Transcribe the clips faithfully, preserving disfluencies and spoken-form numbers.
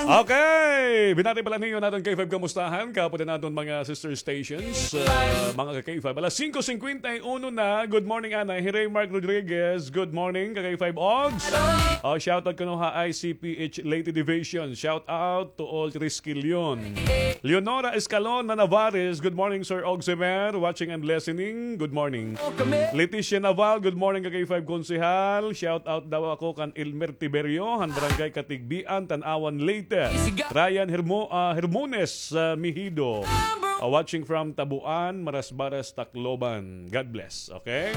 Okay, binati pala niyo naton K five kamustahan, kapod naton mga sister stations, ah, mga ka K five. Alas singko singkwenta y uno na. Good morning, Anay. Hi Ray Mark Rodriguez. Good morning, ka K five Ogs. Oh, shout out kuno ha I C P H Leyte Division. Shout out to all Triskelion. Leonora Escalon na Navares. Good morning, Sir Ogsimer. Watching and listening. Good morning. Leticia Naval. Good morning, ka K five Konsehal. Shout out daw ako kan Elmer Tiberio, han Barangay Katigbian, Tanauan, Leyte. Ryan Hermo-, ah, Hermones, ah, Mihido. Ah, watching from Tabuan, Marasbaras, Tacloban. God bless. Okay?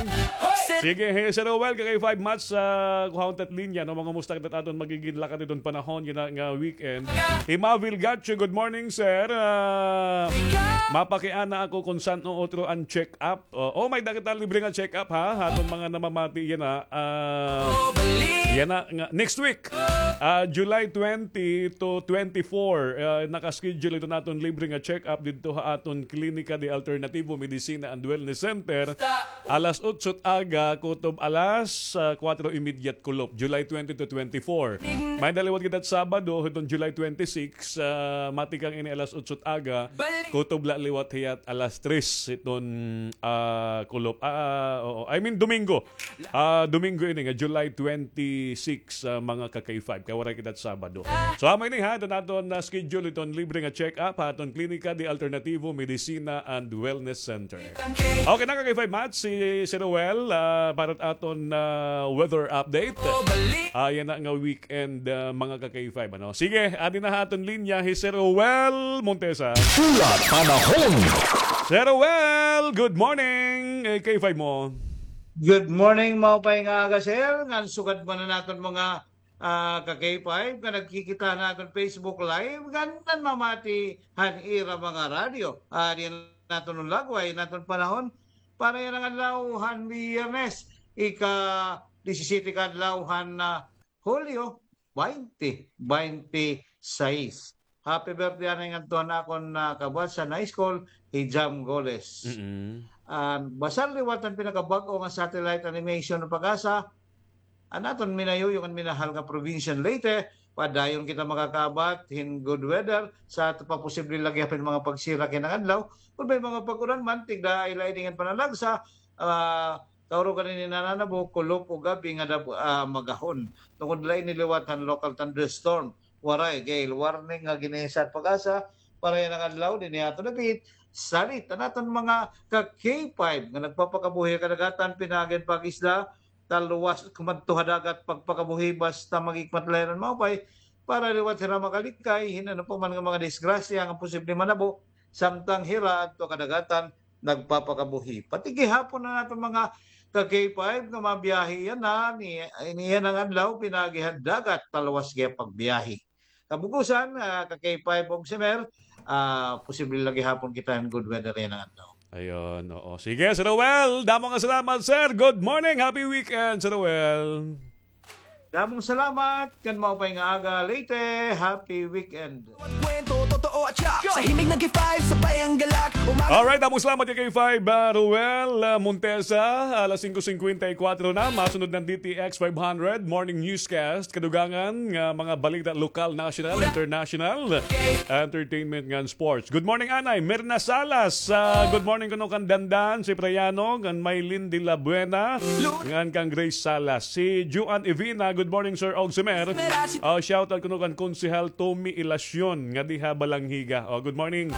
Sige, hey, Sir Roel, ka K five Mats, ah, kuhaon tat linya, no? Mangumusta kita aton magigin lakad iton panahon, yana nga weekend. Hi Mavil Gacho, good morning, sir. Ah, mapakiana ako kon san-o utro an check-up. Oh, oh, may-ada kita libre nga check-up, ha? Aton mga namamati yana, ah, yana nga next week. Ah, July twenty to twenty-four, ah, naka-schedule iton aton libre nga check-up didto ha aton Klinika de Alternativo Medicina and Wellness Center. Alas otso it aga, kutob alas, ah, kuwatro y medya it kulop, July twenty to twenty-four. May-ada liwat kita it Sabado, hiton July twenty-six, ah, matikang ini alas otso it aga, kutob la liwat hiya it alas tres hiton, ah, kulop. Ah, oo. I mean, Domingo. Ah, Domingo ini nga July twenty-six, ah, mga ka K five. Kay waray kita it Sabado. So, amo ini ha, iton aton na schedule iton libre nga check-up ha aton Klinika de Alternativo Medicina and Wellness Center. Okay na, ka K five Mats, si Sir Roel, ah, para aton, ah, weather update. Ah, yana nga weekend, ah, mga ka K five, ano? Sige, adi na ha aton linya hi Sir Roel Montesa. Pula Panahon. Sir Roel, good morning. Eh, K five mo. Good morning, maupay nga aga, sir. Ngan sugad man an aton mga, ah, ka K five nga nagkikita ha aton Facebook Live, ngan namamati han ira mga radyo. Ah, diyan naton lagway, naton panahon para yana nga adlaw han Biyernes, ika-disisiyete ka adlaw han, ah, Hulyo twenty twenty-six. Happy birthday anay ngadto han akon, ah, kabuhat sa high school, hi Jam Goles. Mm-mm. An basar liwat an pinakabag-o nga satellite animation han PAGASA, an aton minayuyong ngan minahal nga probinsya han Leyte, padayon kita makakaabat hin good weather, sa aton pa posible la gihapon mga pagsira kay nang adlaw, kon may mga pag-uran man, tigda ay lain nga pananagsa, ah, kaurugan ini nananabo, kulop ug abi nga dab-, ah, magahon. Tungod la ini liwat han local thunderstorm, waray gale warning nga ginisa han PAGASA para yana nga adlaw dinhi ha aton dapit. Salit an aton mga ka K five nga nagpapakabuhi ha kadagatan pinaagi han pag-isda, talwas kumadto ha dagat pagpakabuhi basta maghikmat la hira hin maupay para liwat hira makalikay hin ano pa man nga mga disgrasya nga posible manabo samtang hira adto ha kadagatan nagpapakabuhi. Pati gihapon an aton mga ka K five nga mabiyahe yana, ni, ni yana nga adlaw, pinaagi han dagat, talwas gihap pagbiyahe. Kabug-osan, ah, ka K five ug Semer, ah, posible la gihapon kita hin good weather yana nga adlaw. Ayun, oo. Sige, Sir Roel, damo nga salamat, sir. Good morning, happy weekend, Sir Roel. Damo nga salamat, ngan maupay nga aga, Leyte. Happy weekend. Kwento, totoo at siya. Sa himig ng K five, sabay ang galak. Alright, damo nga salamat kay K five, ah, Roel, ah, Montesa. Alas singko singkwenta y kwatro na, masunod an D T X five hundred Morning Newscast. Kadugangan nga mga balita lokal, national, international, entertainment ngan sports. Good morning, Anay. Mirna Salas. Ah, good morning kuno kan Dandan Cipriano, ngan Maylin de la Buena, ngan kan Grace Salas. Si Juan Evina, good morning, Sir Ogsimer. Ah, shout out kuno kan Konsehal Tommy Ilacion, nga diha Balangiga. Oh, good morning.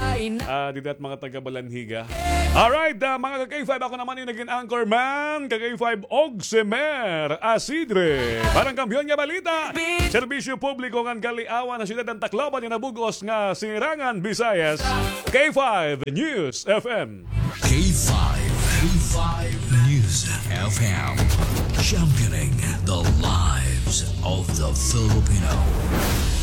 Ah, dida ha mga taga Balangiga. Alright, ah, mga ka K five, ako naman it nagin anchorman, ka K five Ogsimer Asidre. Para han Kampiyon nga Balita, serbisyo publiko ngan kaliawan ha siyudad han Tacloban ngan ha bug-os nga Sirangan Visayas, K five News F M. K five, K five News F M, championing the lives of the Filipino.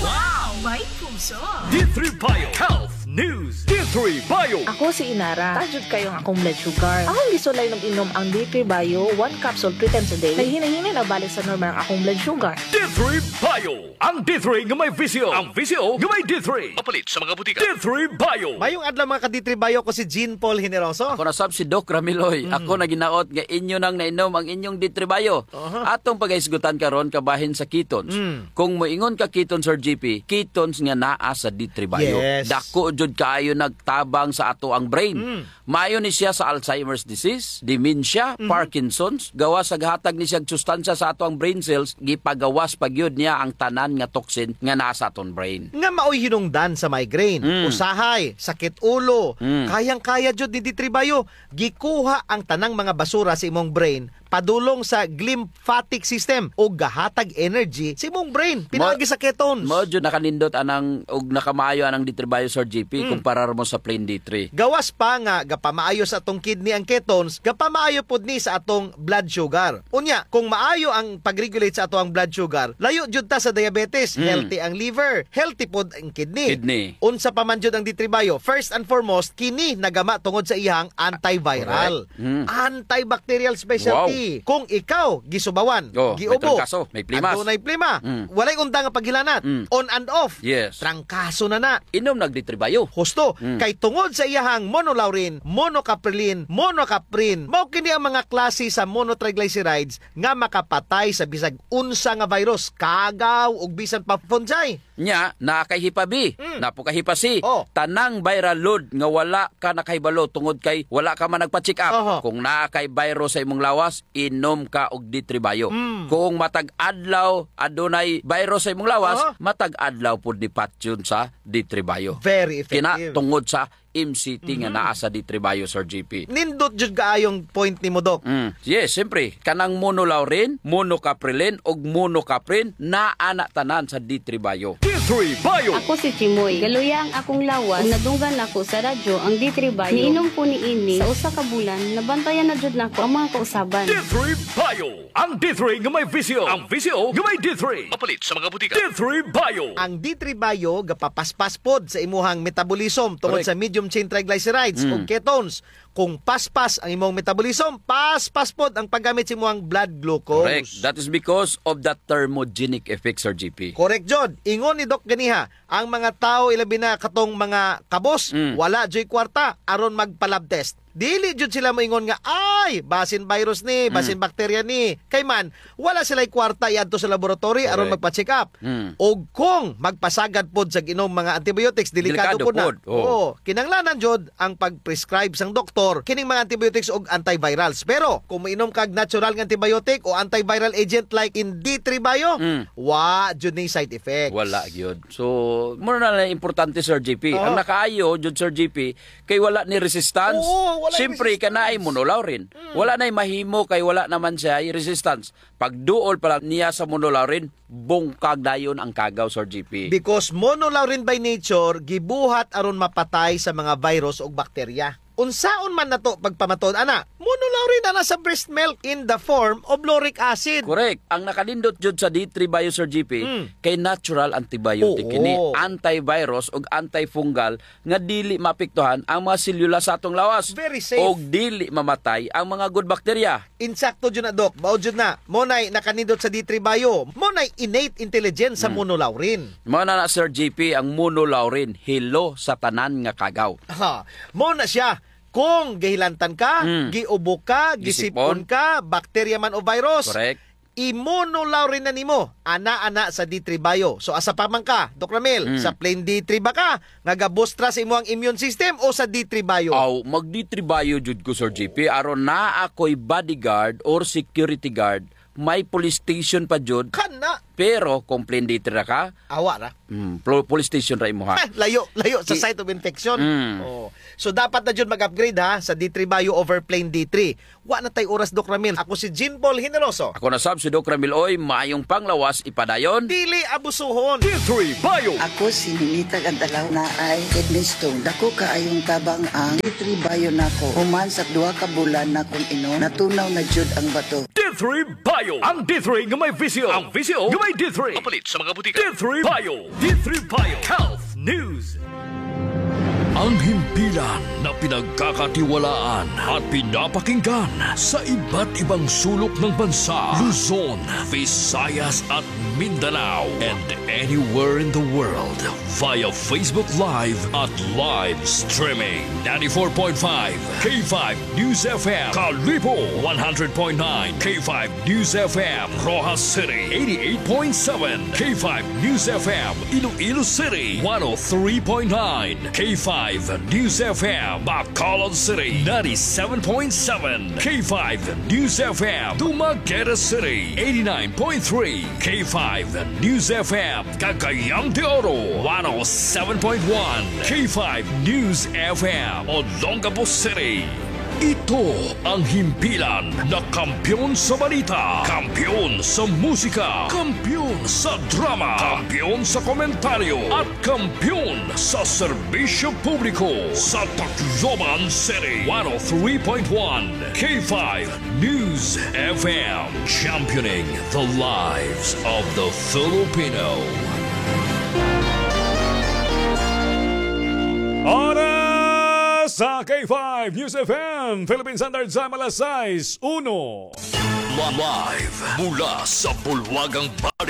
Wow! May puso! D three Bio Health News, D three Bio. Ako si Inara. Taas jud kaayo ang akong blood sugar. Akong gisulay nag-inom ang D three Bio, one capsule three times a day. Naghinay-hinay na balik sa normal ang akong blood sugar. D three Bio. Ang D three nga may V C O. Ang V C O nga may D three. Mapalit sa mga butika. D three Bio. Mayong adlaw, mga ka-D three Bio, ko si Jean Paul Generoso. Ako na sab si Doc Ramiloy. Mm. Ako na ginaot nga inyo nang nainom ang inyong D three Bio. Aha. Atong pagahisgutan karon kabahin sa ketones. Mm. Kung moingon ka ketones, Sir G P, ketones nga naa sa D three Bio. Yes. Dako jud kaayo nagtabang sa ato ang brain. Mm. Maayo ni siya sa Alzheimer's disease, dementia, Mhm. Parkinson's, gawas sa gahatag ni siya sustansya sa ato ang brain cells, gipagawas pa gyud niya ang tanan nga toxin nga naa sa aton brain. Nga maoy hinungdan sa migraine, Mm. usahay, sakit ulo, Mm. kayang-kaya jud ni D three Bio. Gikuha ang tanang mga basura sa imong brain, padulong sa glymphatic system ug gahatag energy sa imong brain pinaagi sa ketones. Mao jud nakanindot anang ug nakamaayo anang D three Bio, Sir G P, Mm. kumpara mo sa plain D three. Gawas pa nga gapamaayo sa atong kidney ang ketones, gapamaayo pod ni sa atong blood sugar. Unya, kung maayo ang pag-regulate sa atong blood sugar, layo jud ta sa diabetes, Mm. healthy ang liver, healthy pod ang kidney. Kidney. Unsa pa man jud ang D three Bio? First and foremost, kini nagama tungod sa iyang antiviral. Correct. Mm. Antibacterial specialty. Wow. Kung ikaw gisubawan, Oh, may giubo, trangkaso, may plimas. Adunay plima, Mm. walay undang nga paghilanat, Mm. on and off. Yes. Trangkaso na na. Inom nag D three Bio. Husto, Mm. kay tungod sa iyahang monolaurin, monocaprilin, monocaprin, mao kini ang mga klase sa monotriglycerides nga makapatay sa bisag unsa nga virus, kagaw, ug bisan pa fungi. Nya, naa kay Hepa B, Mm. naa pod kay Hepa C. Oh. Tanang viral load nga wala ka nakahibalo tungod kay wala ka man nagpa-check up. Aha. Kung naa kay virus sa imong lawas, inom ka og D three Bio. Mm. Kung matag adlaw adunay virus sa imong lawas, Aha. matag adlaw pud ni patyon sa D three Bio. Very effective. Kina tungod sa M C T nga Mhm. naa sa D three Bio, Sir G P. Nindot jud kaayong point nimo, Doc. Mm. Yes, siyempre, kanang monolaurin, monocaprilin, ug monocaprin, naa na tanan sa D three Bio. D three Bio. Ako si Chimoy. Galuya ang akong lawas, ug nadunggan nako sa radyo ang D three Bio. Niinom ko niini sa usa ka bulan, nabantayan na jud nako ang mga kausaban. D three Bio. Ang D three nga may V C O. Ang V C O nga may D three. Mapalit sa mga butika. D three Bio. Ang D three Bio gapapaspas pod sa imuhang metabolism tungod Correct. sa medium chain triglycerides Mm. o ketones. Kung paspas ang imong metabolism, paspas pod ang paggamit sa imuhang blood glucose. Correct. That is because of the thermogenic effect, Sir G P. Correct jud. Ingon ni Doc ganiha, ang mga tawo, ilabi na katong mga kabos, Mm. wala juy kwarta aron magpa-lab test. Dili jud sila moingon nga, "Ay, basin virus ni, basin Mm. bakterya ni." Kay man, wala sila'y kwarta iadto sa laboratory aron Correct. magpa-check up. Mm. Ug kung magpasagad pod sa ginom mga antibiotics, delikado Delikado pod na. pod, oo. Oo, kinahanglanan jud ang pag-prescribe sang doktor kining mga antibiotics ug antivirals. Pero kung moinom kag natural nga antibiotic o antiviral agent like in D three Bio, Mm. wa jud ni side effects. Wala gyud. So, mura na lang importante, Sir G P. Oo. Ang nakaayo jud, Sir G P, kay wala ni resistance. Oo, wala Siyempre, resistance. Kanaay monolaurin. Mm. Wala na'y mahimo kay wala naman siya resistance. Pagduol pa lang niya sa monolaurin, bungkag dayon ang kagaw, Sir G P. Because monolaurin by nature, gibuhat aron mapatay sa mga virus ug bakterya. Unsaon man nato pagpamatud ana? Monolaurin ana sa breast milk in the form of lauric acid. Correct. Ang nakanindot jud sa D three Bio, Sir G P, Mm. kay natural antibiotic Oo. kini, antivirus ug antifungal nga dili maapektuhan ang mga selula sa atong lawas. Very safe. Ug dili mamatay ang mga good bacteria. Insakto jud na, Doc. Mao jud na. Mao na'y nakanindot sa D three Bio. Mao na'y innate intelligence sa Hmm. monolaurin. Mao na na, Sir G P, ang monolaurin, hello sa tanan nga kagaw. Ha, mao na siya. Kung gihilantan ka, Hmm. giubo ka, Gisip-on. gisip-on ka, bakterya man o virus, Correct. i-monolaurin na nimo. Ana, ana sa D three Bio. So, asa pa man ka, Doc Ramil? Hmm. Sa plain D three ba ka? Nga gabustra sa imo ang immune system o sa D three Bio? Aw, mag D three Bio jud ko, Sir G P. Aron naa ako'y bodyguard or security guard, may police station pa jud. Kana. Pero kung plain D three ra ka, Awa ra. Hmm, plo-, police station ra imuha. Ah, layo, layo sa Ki- site of infection. Hmm. Oh. So, dapat na jud mag-upgrade, ha, sa D three Bio over plain D three. Wa na tay oras, Doc Ramil. Ako si Jean Paul Generoso. Ako na sab si Doc Ramil Oy. Maayong panglawas, ipadayon. Dili abusuhon. D three Bio. Ako si Ninita Gantalaw, naay kidney stone. Dako kaayong tabang ang D three Bio nako. Human sa duha ka bulan nakong inom, natunaw na jud ang bato. D three Bio. Ang D three nga may V C O. Ang V C O nga may D three. Mapalit sa mga butika. D three Bio. D three Bio. Health News. Ang himpilan na pinagkakatiwalaan at pinapakinggan sa iba't ibang sulok ng bansa, Luzon, Visayas at Mindanao, and anywhere in the world via Facebook Live at live streaming. Ninety-four point five K five News F M, Kalibo, one hundred point nine K five News F M, Roxas City, eighty-eight point seven K five News F M, Iloilo City, one oh three point nine K five News F M, Bacolod City, ninety-seven point seven K five News F M, Dumaguete City, eighty-nine point three K five News F M, Cagayan de Oro, one oh seven point one K five News F M, Olongapo City. Ito ang himpilan na kampiyon sa balita, kampiyon sa musika, kampiyon sa drama, kampiyon sa komentaryo, at kampiyon sa serbisyo publiko sa Tacloban City. One oh three point one K five News F M, championing the lives of the Filipino. Oras sa K five News F M, Philippine Standard Time, alas sais uno. Live mula sa Bulwagang Bali